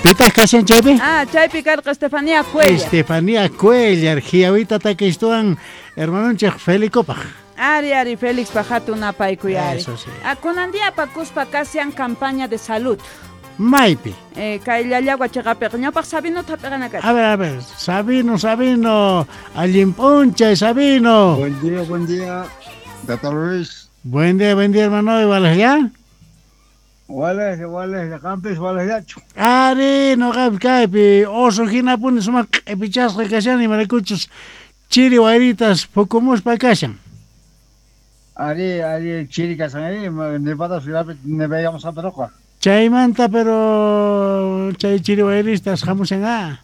Pitaq kashan chaypi? Ah, chaypi karqa Estefanía Cuellar. Estefanía Cuellar, Giawita takistuan hermanonchik Felicopaj. Ari, ari, Félix hatun napaykuy ari. Eso sí. Ah, kunan día apakuspa kashan campaña de salud. Maypi. Kay Llallagua chiqapiqa ñawpaq Sabino hap'iqana A ver, a ver, Sabino, Sabino, allin p'unchay, Sabino. Buen día, Tata Luis. Buen día, hermano, igual ya. Wales, wales, qampis, wales yachu. Ari, noqapi kaypi oso hinapuni sumaq q'ipichasqa kashani, imaraykuchus chiri wayritas phukumuspa kashan. Ari, ari, chiri kashan, ari, nevada ciudad, nevayamos a peroqa. Chaymanta, pero chay chiri wayristas hamushan ah.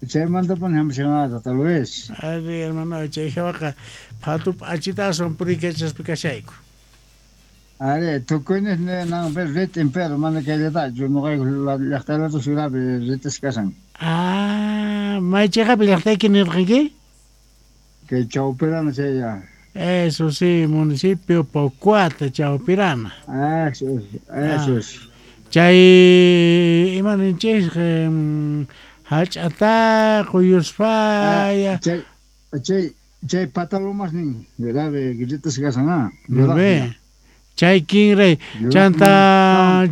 Chaymanta pun hamushan ah, Tata Luis. Ari, hermano, chay hawaqa phatu p'achitasun purikachaspa kashayku. Ari, tukuynis nan pero ritin, pero mana kayllatachu, noqayku llaqtaylata ciudadpi ritis kashan. Ah, may chiqapi llaqtayki nirqanki? Kay Chawpirana chaylla. Eso sí, municipio Pocuata, Chawpirana. Ah, eso es, eso es. Chay, ima ninchis, hach'ata, quyuspaya. Chay, chay, chay patalomas nin, grave, gritas kashan, ah. Ve. Chay kinray, chanta,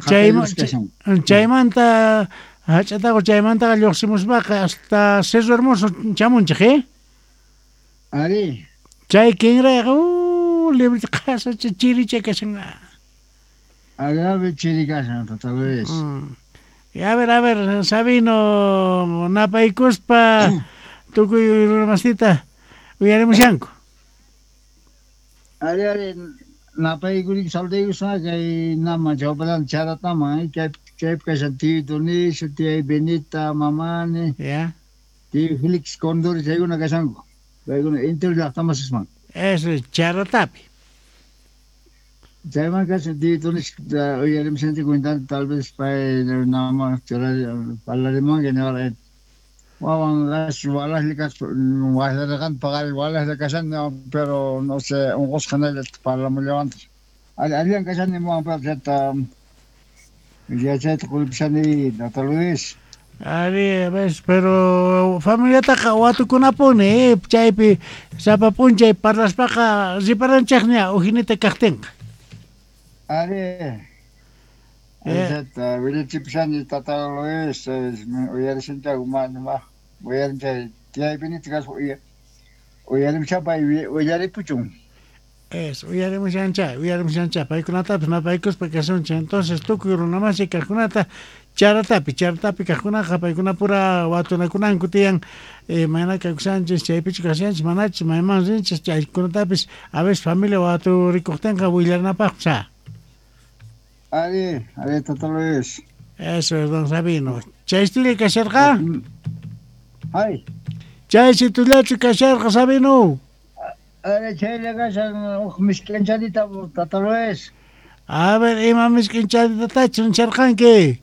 chaymanta, hach'ataqa chaymantaqa lluqsimuspaqa hasta Cerro Hermoso chamunchik, eh? Ari. Chay kinrayqa, libre qhasa chiricha kashan. Agrave chiri kashan, Tata Luis. Y a ver, Sabino, napaykuspa tukuy runamasita uyarimushanku. Ari, ari, napaykurik saludaykuspa kay nama Chawpirana charatama, kay chaypi kashan tío Dionisio, tía Benita, mamani. Ya. Tío Felix Condori chaykuna kashanku. Paykuna entero llaqtamasisman. Eso es Charatapi. Chayman kashan tío Dionisio, uyarimushanchik cuentanta, tal vez pay nama parlarimunqa ñawara. Wawan gas walahli kas wahlarqan paqari walahli kashan, pero no sé, unqusqa hinalla parlamullawantaq. Allan kashani muwan, pero chayta yachayta quripishani, Tata Luis. Ari, ves, pero familiataqa watukunapuni, chaypi sapa p'unchay parlaspaqa riparanchikña ujinita kaqtinqa. Ari. Chayta willachipishani, Tata Luis, uyarishanchayku mana, uyarinchay tiyay Benita kaspa uyarimushapay uyaripuchun. Eso, uyarimushanchay, uyarimushanchay, paykunatapis napaykuspa kasunchik. Entonces tukuy runamasi kaqkunata charatapi, charatapi kaqkunaqa paykunapura watunakunanku tiyan, mayna kawsanchis, chaypichu kashanchis, manachus, mayman rinchis, chaykunatapis a veces familia waturikuqtinqa willanapaqpis, ah. Ari, ari, Tata Luis. Eso es, don Sabino. Chaystulla kasharqa? Ay. Chaysitullachu kasharqa, Sabino? Ari, chaylla kashan, uj misk'inchanita, Tata Luis. A ver, ima misk'inchanitatachu ncharqanki?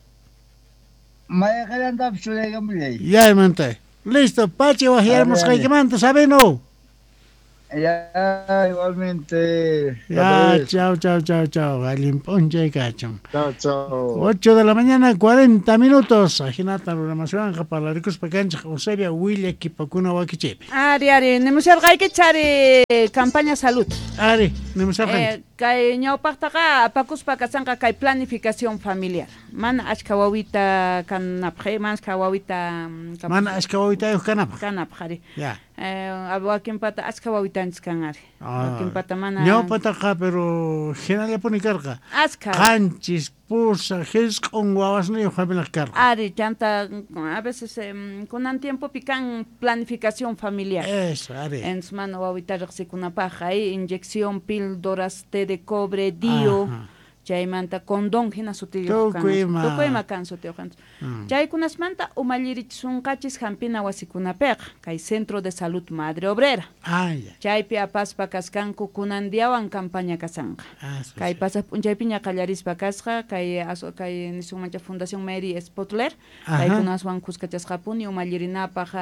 Mayqallantapis churaykamullay. Yaymanta. Listo, pachi wajyarmusqaykimanta, Sabino. Ya, igualmente. Ya, chao, chao, chao, chao. Allin p'unchay kachun. Chao, chao. 8 de la mañana, 40 minutos. Ajinata runamaswanqa parlarikuspa kanchik Eusebia willa kipakuna wakichaypi. Ari, ari, nimusharqaykichik, ari, campaña salud. Ari, nimusharqanki. Kay ñawpaqtaqa apakuspa kashanqa kay planificación familiar. Mana achka wawita kanapaq, mana achka wawita mana achka wawitayuq kanapaq. Kanapaq, ari. Ya. Wakinpata achka wawitanchis kan, ari. Wakinpata mana. Ñawpataqa, pero hinallapuni karqa. Achka. Qanchis, pusa, hisq'un wawasniyuq familiaq karqa. Ari, chanta, a veces kunan tiempopi kan planificación familiar. Eso, ari. Entonces, mana wawita riqsikunapaq, ahí inyección, píldoras, té de cobre, dio. Ajá. Chaymanta condón hina sutiyuq kan. Tukuy ima kan sutiyuq kan. Chaykunasmanta umallirichisunqachis hampina wasikunapiqa, kay Centro de Salud Madre Obrera. Ah, ya. Chaypi apaspa kaskanku kunan diawan campaña kasanqa. Kay pasaq p'unchaypiña qallarispa kasqa, kay kay nisunmancha Fundación Mary Spotler, paykunaswan kuskachasqapuni umallirinapaq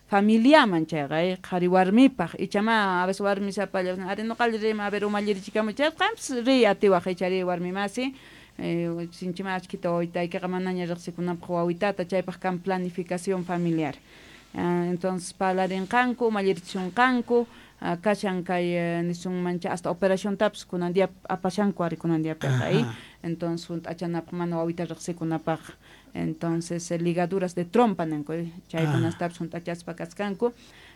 familiaman chayqa, qhari warmipaq, ichama a veces warmi sapalla, ari noqalli rima, a ver umallirichikamu chayqa, qanpis riy atiwaq ichari warmi masi, Sinchima achkita wawitaykiqa manaña riqsikunapaq wawitata, chaypaq kan planificación familiar. Entonces parlarinqanku, umallirichunqanku, kashan kay nisunmancha hasta operaciontapas kunan día apashanku ari kunan diapiqa, entonces hunt'achanapaq mana wawita riqsikunapaq. Entonces ligaduras de trompa ninku, chaykunastapas hunt'achaspa kaskanku.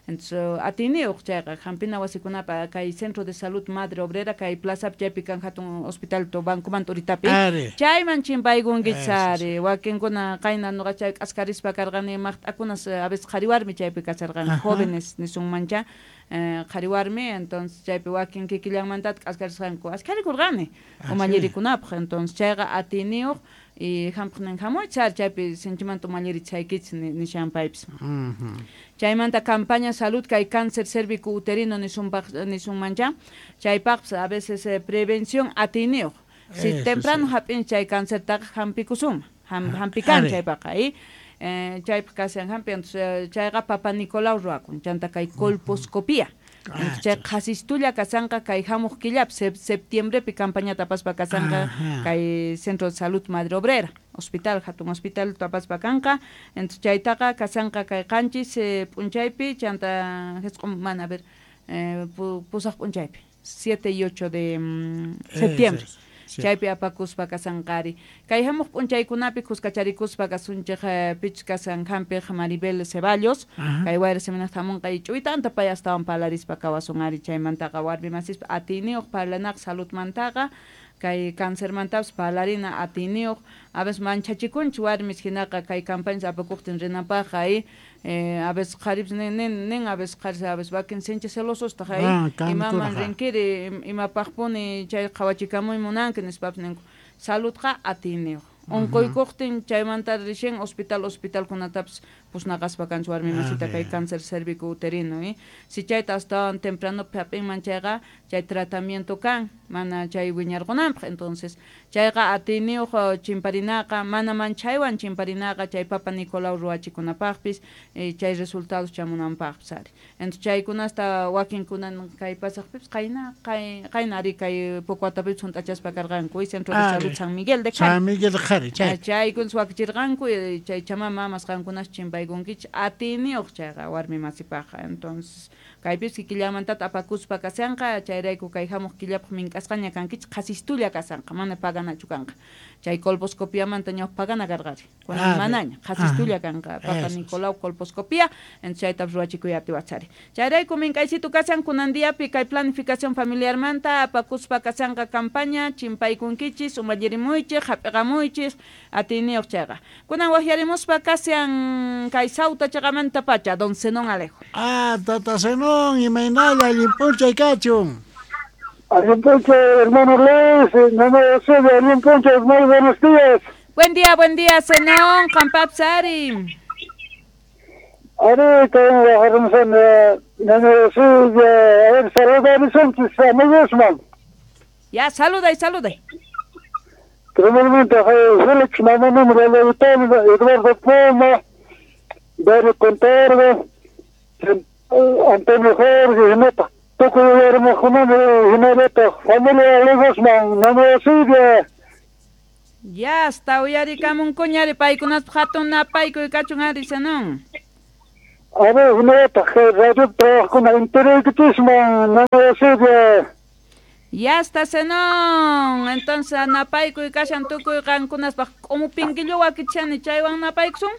Entonces atiyniyuq chayqa hampina wasikunapa kay Centro de Salud Madre Obrera kay plazapi chaypi kan hatun hospital to bancomanta uritapi chayman chimpaykunkichis ari wakinkuna qayna nuqa chay k'askarispa karqani maqt'akunas a veces qhari warmi chaypi kasharqanku jóvenes nisunmancha qhari warmi, entonces chaypi wakin kikillanmantata k'askarisqanku askarikurqani umallirikunapaq. Entonces chayqa atiyniyuq y hampiqnin hamuychis ari chaypi sinchimanta umallirichaykichis nishan paypis. Chaymanta campaña salud kay cáncer cérvico uterino nisunmancha chaypaqpas a veces prevención atiyniyuq. Si temprano hap'in chay cancertaqa hampikusunman, hampikan chaypaqa chaypaq kashan hampi. Entonces chayqa Papa Nicolau ruwakun chanta kay colposcopía. Chay qhasistulla kasanqa kay hamuq killapi septiembrepi campañata apaspa kasanqa kay Centro de Salud Madre Obrera hospital hatun hospital apaspa kanqa. Entonces chaytaqa kasanqa kay qanchis p'unchaypi chanta jisq'un mana a ver pusaq p'unchaypi 7 y 8 de septiembre. Chaypi apakuspa kasanqari. Kay hamuq p'unchaykunapi kuskacharikuspa kasunchik pichus kasan hampiq Maribel Ceballos, kay wayra seminarta hamunqa ch'uytanta pay astawan parlarispa kawasun ari chaymantaqa warmi masispa atiyniyuq parlanaqa saludmantaqa kay cancermantapas parlarina atiyniyuq. A veces manchachikunchik warmis hinaqa kay campañas apakuqtin rinapaqqa a veces qharipis nin a veces qharis a veces wakin sinchi celosostaq imaman rinkiri imapaqpuni chay qhawachikamuy munanki nispapis ninku. Saludqa atiyniyuq. Unquykuqtin chaymanta rishin hospital hospitalkunatapas pusnaqaspa kanchik warmi masita kay cáncer cérvico uterino. Si chayta astawan tempranopi hap'inman chayqa chay tratamiento kan mana chay wiñarqunanpaq. Entonces chayqa atiyniyuq chimparinaqa mana manchaywan chimparinaqa chay Papa Nicolau ruwachikunapaqpis chay resultados chamunanpaqpis ari. Entonces chaykunasta wakinkunan kay pasaqpipis qayna ari kay Pocoatapipis hunt'achaspa karqanku Centro de Salud San Miguel de Qhari. San Miguel de Qhari chay. Chaykunas wakichirqanku chay chama mamas qankunas chimpaykunkichis atiyniyuq chayqa warmi masipaqqa. Entonces kaypis kikillanmantata apakuspa kasanqa chayrayku kay hamuq killapaq mink'asqaña kankichis qhasistulla kasanqa mana paganachu kanqa. Chay colposcopiamanta ñawpa pagana karqari kunan manaña qhasistulla kanqa Papa Nicolau colposcopía. Entonces chaytapas ruwachikuy atiwachari. Chayrayku mink'aysitu kasan kunan diapi kay planificación familiarmanta apakuspa kasanqa campaña chimpaykunkichis umallirimuychis hap'iqamuychis atiyniyuq chayqa. Kunan waqyarimuspa kashan kay Sauta chaqamanta pacha don Zenón Alejo. Tata Zenón, imaynalla allin p'unchay kachun. Allin p'unchay, hermano Luis, allin p'unchay, muy buenos días. Buen día, Zenón, qampapis ari. Ari, a ver, Ya, saluday, saluday. Primeramente, Félix Mamá, Eduardo Puma, Dario Contardo, Antonio Jorge, Neta, familia Legosman, Nana Silvia. Ya, hasta uyarikamun kuñari paykunaspa hatun napaykuy kachun ari Zenón. A ver, neta, radio trabajokuna enteraykichishman, Nana Silvia. Ya está Zenón. Entonces napaykuy kashan tukuy qankunaspaq k'umupinkillawan wakichani chaywan napaykusun.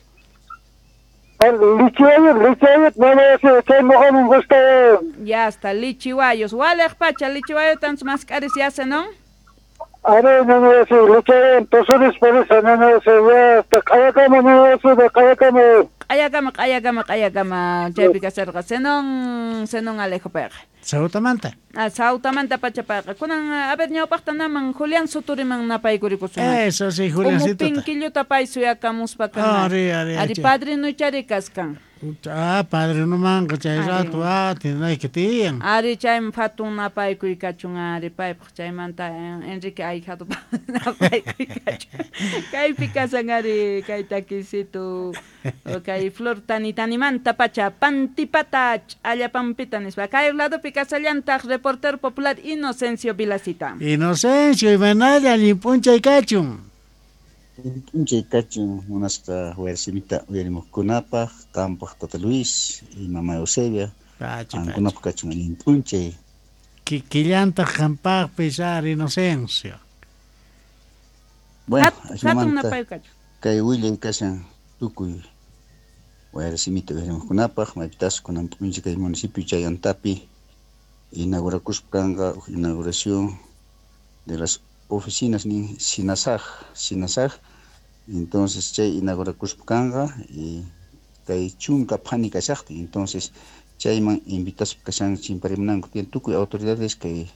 Ya está, lichiwayos. Waleq pacha, lichiwayo tantos mask'aris ya Zenón. A ver, no, sí, lichiwayo, por eso, no, sí, ya está, q'ayakama, no, sí, q'ayakama. Q'ayakama, q'ayakama, q'ayakama, chaypi kasarqa Zenón, Zenón Alejo payqa. Sautamanta. Sautamanta pacha payqa. Kunan, a ver, ñawpaqta naman Julián Suturiman napaykurikusun. Eso sí, Julián Suturi. Umupinkilluta pay suyakamuspa kan. Ari, ari, ari padrinuchari kaskan. Ah, padrinomanqa chay rato atinayki tiyan. Ari chayman hatun napaykuy kachun ari paypaq chaymanta Enrique Ahijado napaykuy kachun. Kaypi kasan ari kay takisitu kay Flor Tanitanimanta pacha pantipata ch'allapampita nispa. Kay ladopi kasallantaq reportero popular Inocencio Vilacita. Inocencio, imaynalla allin p'unchay kachun. P'unchay kachun munasqa wayrasimita uyarimuqkunapaq, qampaq Tata Luis y Mama Eusebia, qankunapaq kachun allin p'unchay. Kikillantaq qampaqpis ari Inocencio. Bueno, ajinamanta kay willay kashan tukuy wayrasimita uyarimuqkunapaq, maypitas kunan p'unchay kay municipio Chayantapi inaugurakuspa kanqa inauguración de las oficinas ni Sinasaj, entonces chay inaugurakuspa kanqa y kay chunka phani kashaqtin, entonces chayman invitaspa kashan chimparimunanku tiyan tukuy autoridades kay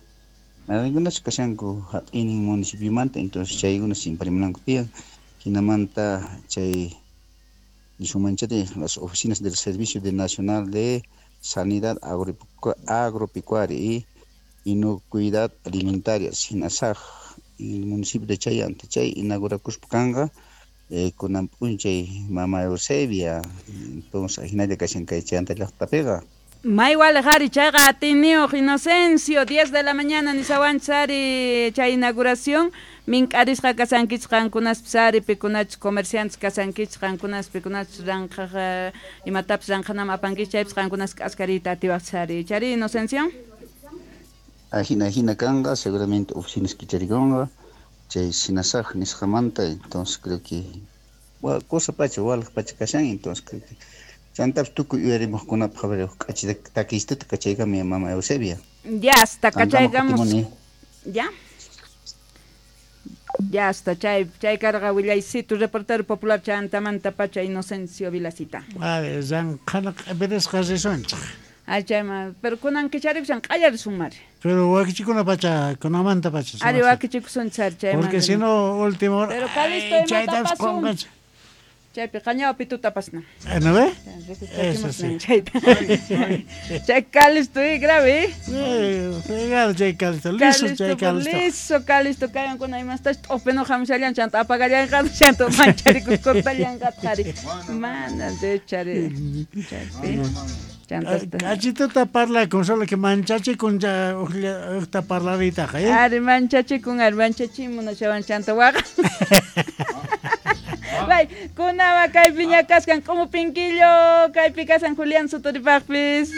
mayqinkunachu kashanku hap'inin municipiomanta, entonces chaykuna chimparimunanku tiyan, hinamanta chay nisunmanchari las oficinas del Servicio de Nacional de Sanidad Agropecuaria y Inocuidad Alimentaria, Sinasaj, el municipio de Chayanta, chay inaugurakuspa kanqa kunan p'unchay Mama Eusebia, entonces ajinalla kashan kay Chayanta llaqtapiqa. May waliq ari chayqa atiniyuq Inocencio, 10 de la mañana nisawanchis ari chay inauguración, mink'arisqa kasankichis qankunaspis ari pikunachus comerciantes kasankichis qankunas pikunachus ranqhaq imatapis ranqhanaman apankichis chaypis qankunas k'askariyta atiwaqchis ari. Chari Inocencio? Ajina kanqa, seguramente oficinas kicharikunqa, chay Sinasaj nisqamanta, entonces creo que cosa pacha, waliq pacha kashan, entonces creo que chantapis tukuy uyarimuqkunapaq a ver k'achi takistuta kachaykamuy Mama Eusebia. Ya hasta kachaykamus. Ya. Ya hasta chay karqa willaysitu reportero popular chantamanta pacha Inocencio Vilacita. A ver, ranqhana q'ipirisqa risunchik. Ay, chayma, pero kunan kicharikusan q'allarisun mari. Pero wakichikuna pacha, kunamanta pacha. Ari wakichikusun char chayma. Porque si no último hora. Pero Calisto imata pasun. Chaypi qañawa pituta pasna. ¿No ve? Eso sí. Chay Calisto, grave. Fregado chay Calisto, liso chay Calisto. Liso Calisto, kayankuna imastach t'upinu hamushallan chanta apagallanqa chanta mancharikus cortallanqa qhari. Mana de chari. Chaypi. Kachituta parlakun, solo que manchachikun ya ujta parlaritaqa, ¿eh? Ari manchachikun, ari manchachimunashawan chanta waqa. Bay, kunawa kaypi ña kaskan k'umu pinkillo, kaypi kasan Julián Sotoripaqpis.